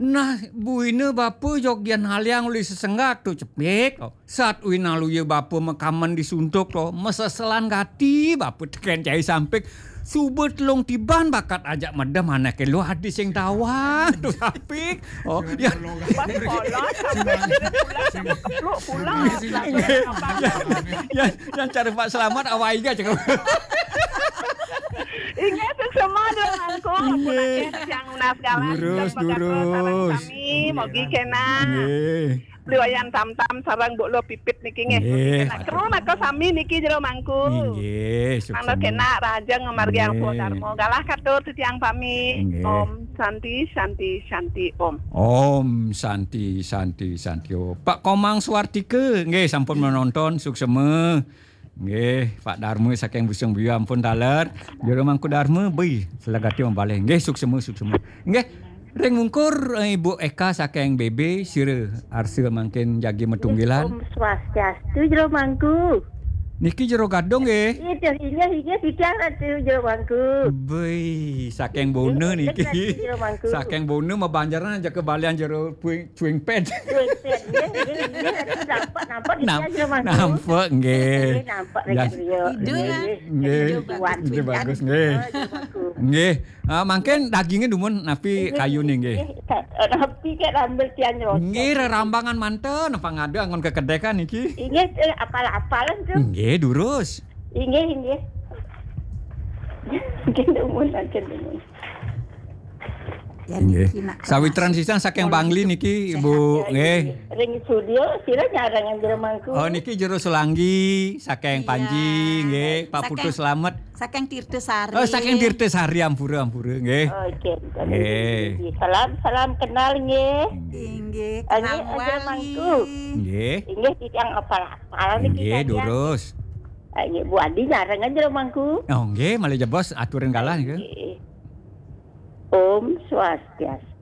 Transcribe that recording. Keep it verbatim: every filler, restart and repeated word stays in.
Nah, buina bapa jog yan haliang uli sesenggat tu cepik. Oh, sat uina luya bapa makamen disuntuk to, maseselan gati bapa teken cai sampik. Suba telung tiban bakat ajak medem anake luh adi sing tawang tu sampik. Oh, ya. Bas kolot, sampai pulang, kepluk pulang. Inggih. Yan, yan cara Pak Selamat awai ga cakap. Inggih, suksema Jero Mangku. Inggih. Ampun, tiang nunas galah. Durus, durus. Sareng sami, mogi kena. Inggih. Beli wayan tam-tam sareng Bu Lo Pipit niki nggih. Inggih. Kena kru maka sami niki Jero Mangku. Inggih, suksema. Mangda kena rahajeng ngamargiang Inggih. Swadarma. Galah katur titiang pami. Inggih. Om Santi, Santi, Santi, Om. Om Santi, Santi, Santi, Om. Pak Komang Suartika, nggih, sampun menonton, suksema. Nggih, Pak Darma saking Busung Biu ampun taler. Jero Mangku Darma, bui, selagati mabalih. Nggih, suksema, suksema. Nggih, ring mungkur, eh, Ibu Eka saking B B, sira arsa mangkin jagi matunggilan. Om Swastiastu, Jero Mangku. Niki Jero Gadung, nggih. Iya, inggih, inggih, titiang Ratu Jero Mangku. Bui, saking Bona niki. Ratu Jero Mangku. Saking Bona mabanjaran aja kebalian Jero Puing Cuing ped. Cuing ped, nggih, nggih, nggih. Nampak, nampak di Nam-, Jero Mangku. Nampak, nggih. Nggih, nampak di Jero. Ida lah. Nggih. Ida bagus. Ida bagus, nggih. Oh, Jero Mangku. Nggih. Ah, mangkin dagingnya dumun napi kayu nih, nggih. Nggih, nggih. Napi kek rambel tiang nyerocok. Nggih, rerambangan manten, apa ngada anggon kekedekan niki? Inggih, eh, apal-apalan tu. Nggih, durus. Inggih, inggih. Inggih, dumun, mangkin dumun. Ya, nggih. Niki nak sawitran kemas. Sisan saking Bangli niki, sehat, Bu, ya, nggih. Ring studio, sira nyarengan Jero Mangku. Oh, niki Jero Sulanggi, saking Panji, nggih. Pak Putu Selamet. Saking Tirta Sari. Oh, saking Tirta Sari, ampura, ampura, nggih. Oh, nggih. Nggih. Salam, salam kenal, nggih. Inggih, kenal Jero Mangku. Nggih. Inggih, titiang apal-apal niki. Nggih, durus. Ah, nggih, Bu Adi nyarengan Jero Mangku. Oh, nggih, malih jebos aturin galah nggih. Nggih. Om Swastiastu.